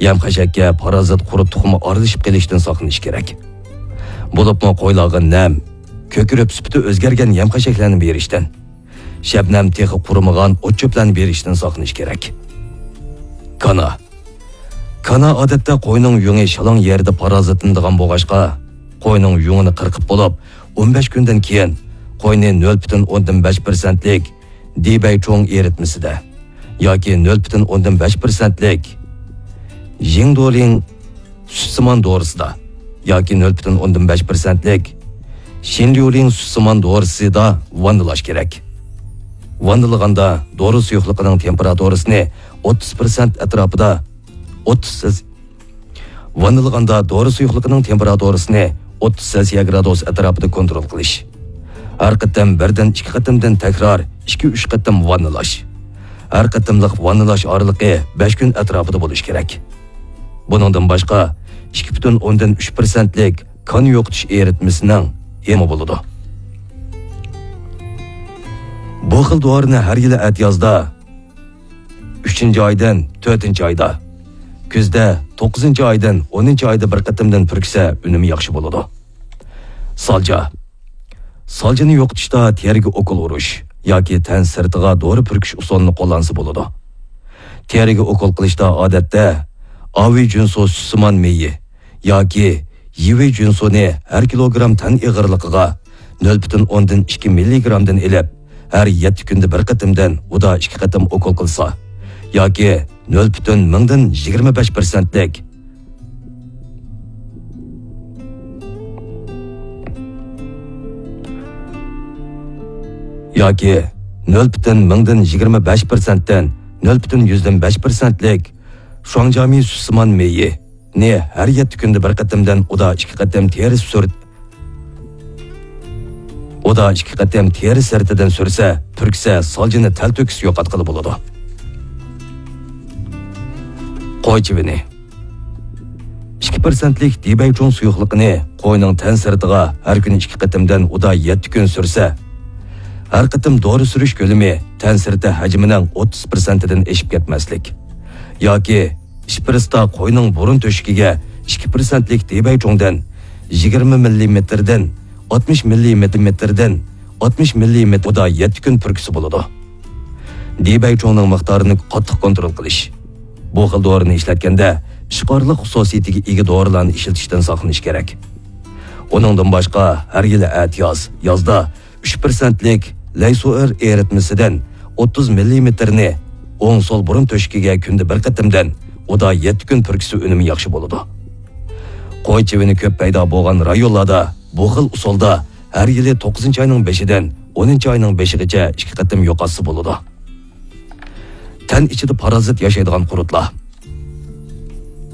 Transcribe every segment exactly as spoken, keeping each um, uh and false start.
يەم-خەشەككە پارازىت قۇرت تۇخۇمى ئارىلىشىپ قېلىشتىن ساقلىنىش كېرەك. بولۇپمۇ قويلارغا نەم، كۆكىرىپ سۈپىتى ئۆزگەرگەن يەم-خەشەكلەرنى بېرىشتىن، شەبنەم تېخى قۇرۇمىغان ئوت-چۆپلەرنى بېرىشتىن ساقلىنىش كېرەك. كانا. كانا ئادەتتە قوينىڭ يۇڭى شالاڭ يەردە پارازىتلىنىدىغان بولغاچقا، قوينىڭ يۇڭىنى قىرقىپ بولۇپ، ئون بەش كۈندىن كېيىن قوينى نۆل پۈتۈن ئوندىن بەش پىرسەنتلىك دىبەيچۇڭ ئېرىتمىسىدە ياكى نۆل پۈتۈن ئوندىن بەش پىرسەنتلىك ژىڭدولىڭ سۈتسىمان دورىسىدا ياكى نۆل پۈتۈن ئوندىن بەش پىرسەنتلىك شىنليۇلىڭ سۈتسىمان دورىسىدا ۋاننىلاش كېرەك. ۋاننىلىغاندا دورا سۇيۇقلۇقىنىڭ تېمپېراتۇرىسىنى ئوتتۇز پىرسەنت ئەتراپىدا، ئوتتۇز سېلس-، ۋاننىلىغاندا دورا سۇيۇقلۇقىنىڭ تېمپېراتۇرىسىنى ئوتتۇز سېلسىيە گرادۇس ئەتراپىدا كونترول قىلىش. ھەر قېتىم بىردىن ئىككى قېتىمدىن تەكرار ئىككى ئۈچ قېتىم ۋاننىلاش. ھەر قېتىملىق ۋاننىلاش ئارىلىقى بەش كۈن ئەتراپىدا بولۇشى كېرەك. بۇنىڭدىن باشقا، ئىككى پۈتۈن ئوندىن ئۈچ پىرسەنتلىك كان يوقىتىش ئېرىتمىسىنىڭ يېمى بولىدۇ. بۇ خىل دورىنى ھەر يىلى ئەتىيازدا، ئۈچىنچى ئايدىن تۆتىنچى ئايدا، كۈزدە توققۇزىنچى ئايدىن ئونىنچى ئايدا بىر قېتىمدىن پۈركۈسە ئۈنۈمى ياخشى بولىدۇ. سالجا. سالجىنى يوقىتىشتا تېرىگە ئوكۇل ئۇرۇش ياكى تەن سىرتىغا دورا پۈركۈش ئۇسۇلىنى قوللانسا بولىدۇ. تېرىگە ئوكۇل قىلىشتا ئادەتتە ئاۋۇ جۈنسۇ سۈتسىمان مېيى ياكى يىۋى جۈنسۇنى ھەر كىلوگرام تەن ئېغىرلىقىغا نۆل پۈتۈن ئوندىن ئىككى مىللىگرامدىن ئېلىپ، ھەر يەتتە كۈندە بىر قېتىمدىن ئۇدا ئىككى قېتىم ئوكۇل قىلسا ياكى نۆل پۈتۈن مىڭدىن يىگىرمە بەش پىرسەنتلىك ياكى نۆل پۈتۈن مىڭدىن يىگىرمە بەش پىرسەنتتىن نۆل پۈتۈن يۈزدىن بەش پىرسەنتلىك شۇاڭجامى سۈتسىمان مېيىنى ھەر يەتتە كۈندە بىر قېتىمدىن ئۇدا ئىككى قېتىم تېرە سۈرت، ئۇدا ئىككى قېتىم تېرە سىرتىدىن سۈرسە، پۈركسە، سالجىنى تەلتۆكۈس يوقاتقىلى بولىدۇ. قوي چىۋىنى. ئىككى پىرسەنتلىك دىبەيچۇڭ سۇيۇقلۇقىنى قوينىڭ تەن سىرتىغا ھەر كۈنى ئىككى قېتىمدىن ئۇدا يەتتە كۈن سۈرسە، ھەر قېتىم دورا سۈرۈش كۆلىمى تەن سىرتى ھەجمىنىڭ ئوتتۇز پىرسەنتىدىن ئېشىپ كەتمەسلىك ياكى ئىشپىرىستا قوينىڭ بۇرۇن تۆشۈكىگە ئىككى پىرسەنتلىك دىبەيچۇڭدىن يىگىرمە مىللىمېتىردىن ئاتمىش مىللىمېتىردىن ئاتمىش مىللىمېتىر ئۇدا يەتتە كۈن پۈركۈسە بولىدۇ. دىبەيچۇڭنىڭ مىقدارىنى قاتتىق كونترول قىلىش. بۇ خىل دورىنى ئىشلەتكەندە، ئىشقارلىق خۇسۇسىيىتىگە ئىگە دورىلارنى ئىشلىتىشتىن ساقلىنىش كېرەك. ئۇنىڭدىن باشقا، ھەر يىلى ئەتىياز، يازدا ئۈچ پىرسەنتلىك لەيسۇئېر ئېرىتمىسىدىن ئوتتۇز مىللىمېتىرنى ئوڭ سول بۇرۇن تۆشۈكىگە كۈندە بىر قېتىمدىن ئۇدا يەتتە كۈن پۈركۈسە ئۈنۈمى ياخشى بولىدۇ. قوي چىۋىنى كۆپ پەيدا بولغان رايونلاردا بۇ خىل ئۇسۇلدا ھەر يىلى توققۇزىنچى ئاينىڭ بېشىدىن ئونىنچى ئاينىڭ بېشىغىچە ئىككى قېتىم يوقاتسا بولىدۇ. تەن ئىچىدە پارازىت ياشايدىغان قۇرتلار.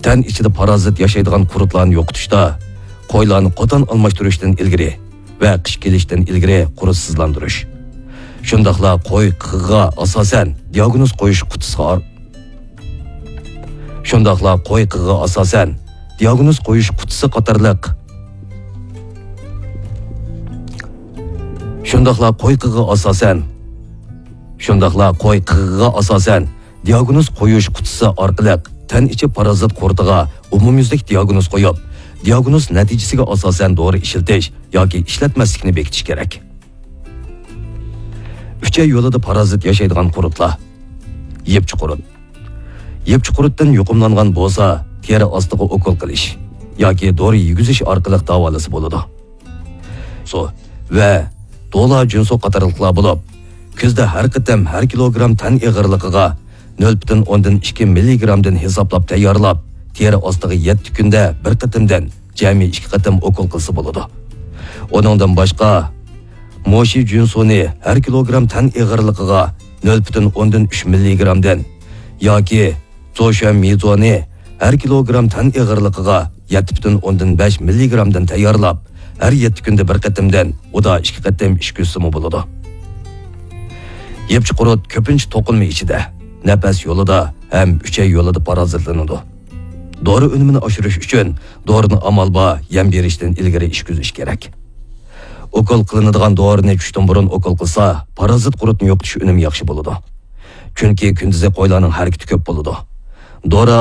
تەن ئىچىدە پارازىت ياشايدىغان قۇرتلارنى يوقىتىشتا قويلارنى قوتان ئالماشتۇرۇشتىن ئىلگىرى ۋە قىش كېلىشتىن ئىلگىرى قۇرتسىزلاندۇرۇش. شۇنداقلا قوي قېغىغا ئاساسەن دىئاگنوز قويۇش قۇتىسىغا ئار-، شۇنداقلا قوي قېغىغا ئاساسەن دىئاگنوز قويۇش قۇتىسى قاتارلىق، شۇنداقلا قوي قېغىغا ئاساسەن، شۇنداقلا قوي قېغىغا ئاساسەن دىئاگنوز قويۇش قۇتىسى ئارقىلىق تەن ئىچى پارازىت قۇرتىغا ئومۇميۈزلۈك دىئاگنوز قويۇپ، دىئاگنوز نەتىجىسىگە ئاساسەن دورا ئىشلىتىش ياكى ئىشلەتمەسلىكنى بېكىتىش كېرەك. ئۈچەي يولىدا پارازىت ياشايدىغان قۇرتلار. يىپچى قۇرت. يىپچى قۇرتتىن يۇقۇملانغان بولسا، تېرە ئاستىغا ئوكۇل قىلىش ياكى دورا يېگۈزۈش ئارقىلىق داۋالىسا بولىدۇ. سۇ ۋە دولا جۈنسۇ قاتارلىقلار بولۇپ، كۈزدە ھەر قېتىم ھەر كىلوگرام تەن ئېغىرلىقىغا نۆل پۈتۈن ئوندىن ئىككى مىللىگرامدىن ھېسابلاپ تەييارلاپ، تېرە ئاستىغا يەتتە كۈندە بىر قېتىمدىن جەمئىي ئىككى قېتىم ئوكۇل قىلسا بولىدۇ. ئۇنىڭدىن باشقا، موشى جۈنسۇنى ھەر كىلوگرام تەن ئېغىرلىقىغا نۆل پۈتۈن ئوندىن ئۈچ مىللىگرامدىن ياكى زوشۈەن مىزونى ھەر كىلوگرام تەن ئېغىرلىقىغا يەتتە پۈتۈن ئوندىن بەش مىللىگرامدىن تەييارلاپ، ھەر يەتتە كۈندە بىر قېتىمدىن ئۇدا ئىككى قېتىم ئىچكۈزسىمۇ بولىدۇ. يىپچى قۇرت كۆپىنچە توقۇلما ئىچىدە، نەپەس يولىدا ھەم ئۈچەي يولىدا پارازىتلىنىدۇ. دورا ئۈنۈمىنى ئاشۇرۇش ئۈچۈن دورىنى ئامال بار يەم بېرىشتىن ئىلگىرى ئىچكۈزۈش كېرەك. ئوكۇل قىلىنىدىغان دورىنى چۈشتىن بۇرۇن ئوكۇل قىلسا، پارازىت قۇرتنى يوقىتىش ئۈنۈمى ياخشى بولىدۇ. چۈنكى كۈندۈزى قويلارنىڭ ھەرىكىتى كۆپ بولىدۇ. دورا